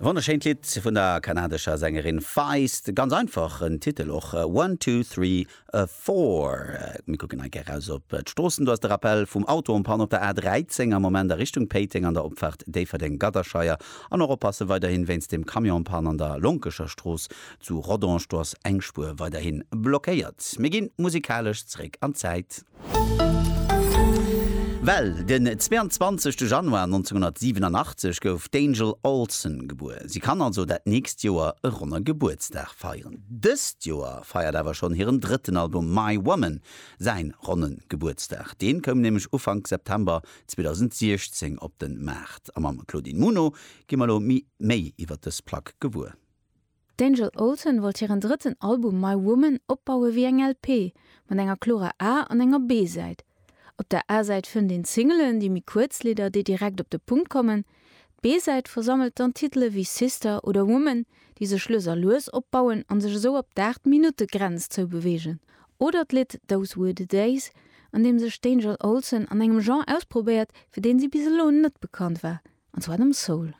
E wonnerschéint Lidd vun der kanadescher Sängerin Feist. Ganz einfach en Titel och, One, Two, Three, Four. Mir kucken hei gär raus op d'Stroossen. Do ass de Rappel vum Auto en panne op der A13 am Moment a Richtung Péiteng an der Opfaart Déifferdeng-Gadderscheier. An och oppasse weiderhin wéinst dem Camion en panne an der Lonkescher Strooss zu Rodange. Do ass eng Spuer weiderhin blockéiert. Mir ginn musikalesch zeréck an d'Zäit. Well den 22 Januar 1987 gouf d'Angel Olsen gebuer. Si kann also dat nächst Joer e ronne Gebuertsdag feieren. Dëst Joer feiert awer schonn hiren drëtten Album My Woman säin ronne Gebuertsdag. Deen koum nämlech Ufank September 2016 op den Maart. A mam Claudine Muno gi mer elo méi iwwer dës Plack gewuer. D'Angel Olsen wollt hiren drëtten Album My Woman opbaue wéi eng LP, mat enger klorer A an enger B-Säit. Op der A-Säit fënnt een d'Singelen, déi méi kuerz Lidder, déi direkt op de Punkt kommen. D'B-Säit versammelt dann Titele wéi Sister oder Woman, déi sech lues a lues opbauen an sech esou op d'Aacht Minutte Grenz zoubeweegen. Oder d'Lidd Those Were The Days, an deem sech d'Angel Olsen an engem Genre ausprobéiert, fir deen si bis elo net bekannt war, an zwar dem Soul.